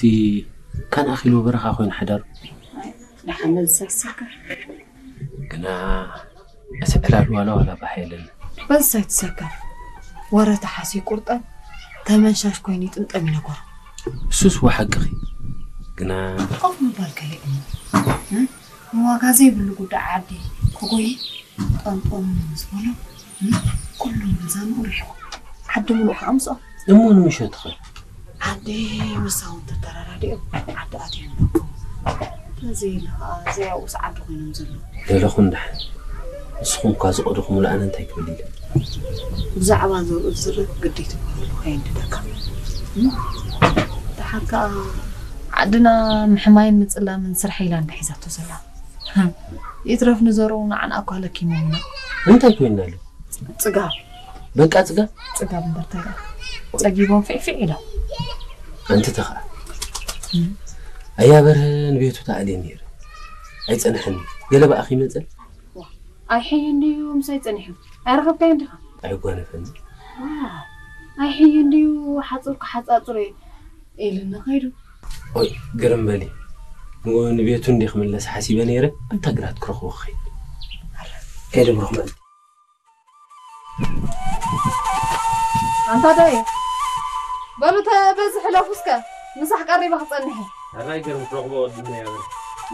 እቲ ካን ኣኺሉ በረኻ ኮይኑ ሓዳሩ። ደሓን በዚ ሳይትሰከፍ። ግና እቲ ዕላል ዋላ ዋላ ባህ የለን። በዚ ሳይትሰከፍ። ወረ ተሓሲ ቁርጠን ተመንሻሽ ኮይኑ ይጥምጠም ይነገሩ። እሱስ ወሓቅኺ። ግና ኮፍ ምባል ከሊእኒ። እ? ንዋጋ ዘይብሉ ጉዳይ ዓዲ ክጎይ ጠንጠኑ ምስ በሎ፣ እ? ኩሉ ገዛ ንኡ ርሒቑ። ዓዲ ምሉእ ከኣ ምስኦም። እሞ ንምሸትኸ? ዓዲ ምሳውን ተተረዳዲኦም ዓዲ ኣትዮም ኣለዉ። ተዘይለ ከኣ ዘይኣውስ ዓዲ ኮይኖም ዘለዉ። ደለኹ እንድሕር። ንስኹም እኳ ዝቐደኹምሉ ኣነ እንታይ ክብል ኢለ? ብዛዕባ ዘብኡ ዝዝረብ ግዲ ትበሃሉ ከየንድደካ። እ? ደሓር ከኣ ዓድና ምሕማይን ምጽላምን ስራሕ ኢላ እንዳ ሒዛቶ ዘላ። ህም። ይትረፍ ንዘርኡ ንዓና እኳ ለኪሞምና። እንታይ ኮይንና ኣሎ? ጽጋብ። በቃ ጽጋብ? ጽጋብ እምበር እንታይ ደኣ? ጸጊቦም ፊዕፊዕ ኢሎም። ኣንቲ ተኸኣ። እም። ኣያ በርሀ ንቤቱ ተኣልየ ነይረ። ኣይጸንሐን። ገለ ብኣኺ ይመጸል? ዋ፣ ኣይሕይን ድዩ ምሳይ ጸኒሑ? ኣይረኸብካዮን ዲኻ? ኣይጓነፈኒ። ዋ፣ ኣይሕይን ድዩ ሓጹር ክሓጻጽሮ እየ ኢሉኒ ከይዱ። ኦይ፣ ግርም በሊ። ንኡ ንቤቱ እንዴ ክምለስ ሓሲበ ነይረ፣ ኣንታ ግራት ክረኽቦ ክኸይድ። ከይደ ብሩኽ መዓልቲ። ኣንታ ዳየ፣ በሉ ተ-፣ በዚ ሕለፉ እስከ፣ ምሳሕ ቀሪበ ክጸንሕ እየ። ኣራይ ግርም ክረኽቦ ወድና እያ በል።